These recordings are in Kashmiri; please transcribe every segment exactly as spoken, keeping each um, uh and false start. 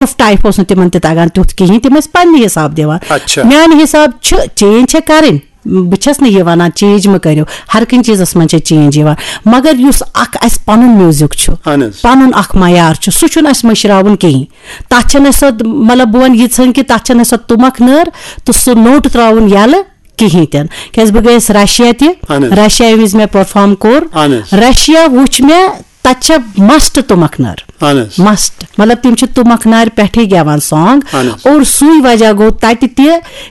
آف ٹائپ اوس نہٕ تِمن تہِ تگان تیُتھ کِہیٖنۍ، تِم ٲسۍ پننہِ حساب دِوان۔ اچھا۔ میانہِ حساب چھِ چینج چھےٚ کرٕنۍ، بہٕ چھَس نہٕ یہِ وَنان چینج مہٕ کٔرِو، ہر کُنہِ چیٖزَس منٛز چھےٚ چینج یِوان، مگر یُس اَکھ اَسہِ پَنُن میوٗزِک چھُ، اہن حظ۔ پَنُن اَکھ معیار چھُ، سُہ چھُنہٕ اَسہِ مٔشراوُن کِہیٖنۍ۔ تَتھ چھَنہٕ اَسہِ سۄ، مطلب، بہٕ وَنہٕ یِژھن کہِ تَتھ چھَنہٕ اَسہِ سۄ تُمَکھ نٲر تہٕ سُہ نوٹ ترٛاوُن یَلہٕ کِہیٖنۍ تہِ نہٕ۔ کیٛازِ بہٕ گٔیَس رشیا تہِ، اہن حظ۔ رشیا ییٚمہِ وِزِ مےٚ پٔرفارم کوٚر، اہن حظ۔ رشیا وٕچھ مےٚ، تَتہِ چھےٚ مسٹ تُمَکھ نٲر۔ اہن حظ۔ مسٹ، مطلب، تِم چھِ تُمَکھ نارِ پٮ۪ٹھٕے گٮ۪وان سانگ۔ اہن حظ۔ اور سُے وجہ گوٚو تَتہِ تہِ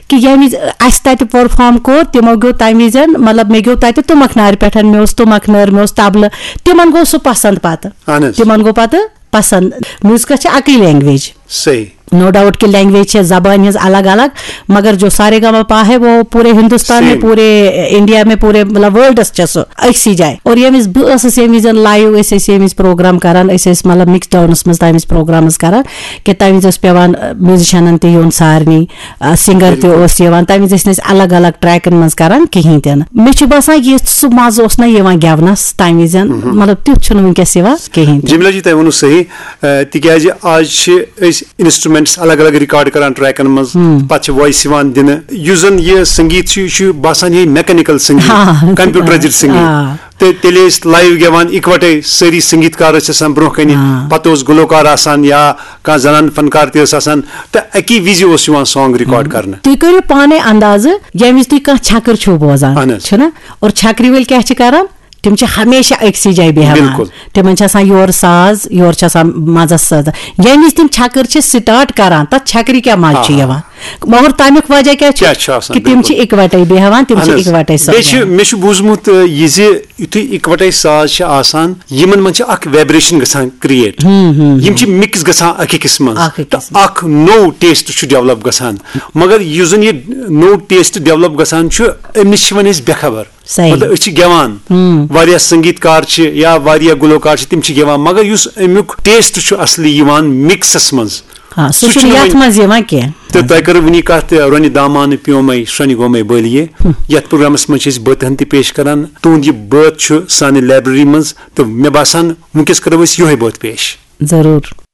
کہِ ییٚمہِ وِزِ اَسہِ تَتہِ پٔرفارم کوٚر، تِمو گیوٚو تَمہِ وِزٮ۪ن، مطلب، مےٚ گیوٚو تَتہِ تُمَکھ نارِ پٮ۪ٹھ، مےٚ اوس تُمَکھ نٲر، مےٚ اوس طبلہٕ، تِمن گوٚو سُہ پسند پتہٕ۔ اہن حظ۔ تِمن گوٚو پتہٕ پسند۔ میوٗزکس چھِ اَکٕے لینگویج۔ صحیح۔ نو ڈاؤٹ کہ لینگویج چھِ، زبان ہٕنٛز الگ الگ، مگر جو سارے گاما پا ہے، وہ پورے ہندوستان میں، Same۔ پورے انڈیا میں، پورے، مطلب، ورلڈس چھِ سُہ أکسٕے جایہِ۔ اور ییٚمہِ وِزِ بہٕ ٲسٕس، ییٚمہِ وِزِ لایو ٲسۍ أسۍ ییٚمہِ وِزِ پروگرام کران، أسۍ ٲسۍ، مطلب، مکس ڈاؤنس منٛز تَمہِ وِزِ پروگرامز کران، کہِ تَمہِ وِزِ اوس پیوان، ٲ، میوٗزِشنن تہِ یُن سارنٕے، ٲ، سِنگر تہِ بِلکُل۔ اوس یِوان، تَمہِ وِزِ ٲسۍ نہٕ أسۍ الگ الگ ٹریکن منٛز کران کِہینۍ تہِ نہٕ۔ مےٚ چھُ باسان، یُتھ سُہ مزٕ اوس نہ یِوان گٮ۪ونس تَمہِ وِزِ، مطلب، تیُتھ چھُنہٕ وٕنکیٚس یِوان کِہینۍ تہِ۔ جمیلہ جی، تۄہہِ ووٚنوُ صحیح، آ، تِکیازِ آز چھِ أسۍ انسٹرومینٹس الگ الگ ریکارڈ کران ٹریکن منٛز، پتہٕ چھِ وائس یِوان دِنہٕ، یُس زن یہِ سنگیت چھُ، یہِ چھُ باسان یہِ میکینکل سنگیت، آ۔ کمپیوٹرائزڈ آ۔ سنگیت۔ تہٕ تیٚلہِ ٲسۍ لایو گٮ۪وان اِکوٹے، سٲری سنگیت کار ٲسۍ آسان برونٛہہ کنہِ، آ۔ پتہٕ اوس گلوکار آسان یا کانٛہہ زنان فنکار تہِ ٲس آسان، تہٕ اکی وِزِ اوس یِوان سانگ ریکارڈ کرنہٕ۔ تُہۍ کٔرِو پانے اندازٕ، ییٚمہِ وِزِ تُہۍ کانٛہہ چھکٕر چھِو بوزان، اہن حظ۔ چھُنہ؟ اور چھکرِ وٲلۍ کیٛاہ چھِ کران؟ تِم چھِ ہمیشہ أکسٕے جایہِ بیٚہوان۔ بِلکُل۔ تِمن چھِ آسان یورٕ ساز، یورٕ چھِ آسان منٛزس ساز۔ ییٚمہِ وِزِ تِم چھکٕر چھِ سٹارٹ کران، تتھ چھکرِ کیٛاہ مزٕ چھُ آ۔ یِوان؟ مگر تمیُک وجہ کیٛاہ چھُ؟ کیٛاہ چھُ آسان؟ کہِ تِم چھِ بِلکُل۔ اِکوٹے بیٚہوان، تِم اہن چھِ حظ۔ اِکوٹے بیٚیہِ چھِ، سپدان۔ مےٚ چھُ بوٗزمُت، آ، یہِ زِ یُتھُے اِکوٹے ساز چھِ آسان، یِمن منٛز چھِ اکھ وائبریشن گژھان کریٹ۔ یِم چھِ مکس گژھان اکھ أکِس منٛز۔ اکھ أکِس تہٕ اکھ نوٚو ٹیسٹ چھُ ڈیولپ گژھان۔ مگر یُس زن یہِ نوٚو ٹیسٹ ڈیولپ گژھان چھُ، أمِس چھِ وۄنۍ أسۍ بے خبر۔ صحیح۔ مطلب، أسۍ چھِ گٮ۪وان، واریاہ سنگیت کار چھِ یا واریاہ گلوکار چھِ، تِم چھِ گٮ۪وان، مگر یُس امیُک ٹیسٹ چھُ اصلی یِوان مکسس منٛز، آ، سُہ سُہ چھُنہٕ چھُنہٕ یتھ وۄنۍ۔ منٛز یِوان کینٛہہ۔ تہٕ تۄہہِ کٔرٕو وٕنی کتھ تہِ، رۄنہِ دامانہٕ پیومے، شرۄنہِ گومے بٲلیے۔ یتھ پروگرامس منٛز چھِ أسۍ بٲتہٕ ہن تہِ پیش کران۔ تُہُنٛد یہِ بٲتھ چھُ سانہِ لائبریری منٛز، تہٕ مےٚ باسان وٕنکیٚس کرو أسۍ یِہوٚے بٲتھ پیش۔ ضروٗر۔